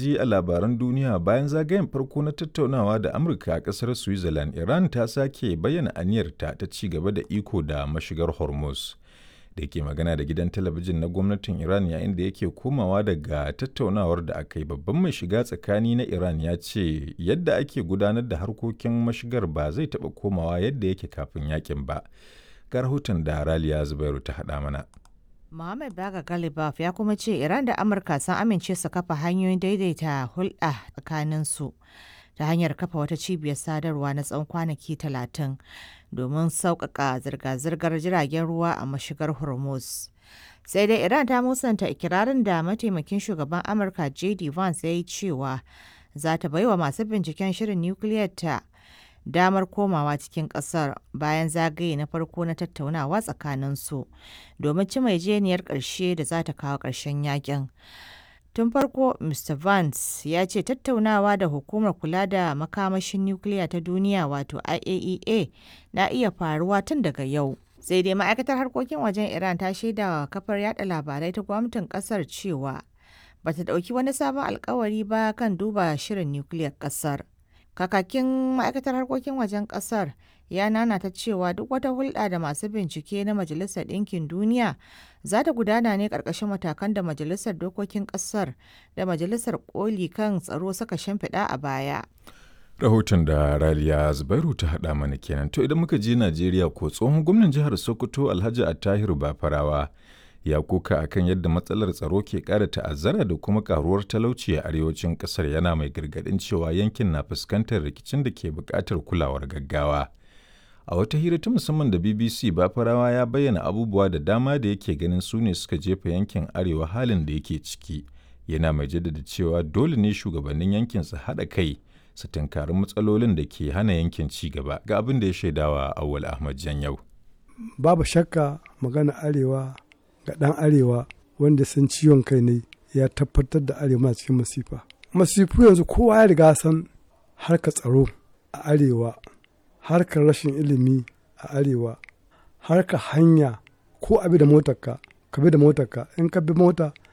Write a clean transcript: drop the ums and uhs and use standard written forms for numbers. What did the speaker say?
Ji a labaran duniya, bayan zagayen farko na tattaunawa da Amurka a ƙasar Switzerland, Iran ta sake bayyana aniyarta ta ci gaba da iko da mashigar Hormuz. Da yake magana da gidan talabijin na gwamnatin Iran yayin da yake komawa daga tattaunawar da aka yi, babban mai shiga tsakani na Iran ya ce yadda ake gudanar da harkokin mashigar ba zai taɓa komawa yadda yake kafin yakin ba. Ga rahoton da Raliya Zubairu ta haɗa mana. Mohammed Baga Galibaf ya kuma ce Iran da Amurka sun amince su kafa hanyoyin daidaita hulɗa tsakaninsu ta hanyar kafa wata cibiyar sadarwa na tsawon kwanaki 30 domin sauƙaƙa zirga-zirgar jiragen ruwa a mashigar Hormuz. Sai dai Iran ta musanta ikirarin da mataimakin shugaban Amurka JD Vance ya yi cewa za ta baiwa masu binciken shirin nukiliyar ta damar komawa cikin kasar bayan zagaye na farko na tattaunawa tsakaninsu domin cimma yarjejeniyar ƙarshe da za ta kawo ƙarshen yakin. Tun farko, Mr. Vance ya ce tattaunawa da hukumar kula da makamashin nukiliya ta duniya wato IAEA na iya faruwa tun daga yau. Sai dai ma'aikatar harkokin wajen Iran ta shaidawa kafar yada labarai ta gwamnatin kasar cewa bata ɗauki wani sabon alkawari ba kan duba shirin nukiliyar kasar. Kakakin ma'aikatar harkokin wajen kasar ya nanata cewa duk wata hulɗa da masu bincike na Majalisar Ɗinkin Duniya za ta gudana ne ƙarƙashin matakan da Majalisar Dokokin Ƙasar da Majalisar Koli kan Tsaro suka shimfiɗa a baya. Rahoton da Raliya Zubairu ta haɗa mana kenan. To idan muka je Najeriya ko tsohon gwamnan jihar Sokoto Alhaji Attahiru Bafarawa ya koka akan yadda matsalar tsaro ke ƙara ta'azzara da kuma karuwar talauci a arewacin ƙasar yana mai gargaɗin cewa yankin na fuskantar rikicin da ke buƙatar kulawar gaggawa. A wata hira ta musamman da BBC Bafarawa ya bayyana abubuwa da dama da yake ganin su ne suka jefa yankin arewa halin da yake ciki. Yana mai jaddada cewa dole ne shugabannin yankin su haɗa kai su tunkari matsalolin da ke hana yankin ci gaba ga abin da ya shaidawa Awwal Ahmad Janyau. Babu shakka magana arewa ga ɗan arewa wanda san ciwon kai ne ya tabbatar da arewa cikin masifa masifu yanzu kowa ya riga san harkar tsaro a arewa harkar rashin ilimi a arewa harkar hanya ko abi da motarka ka bi da motarka in ka bi mota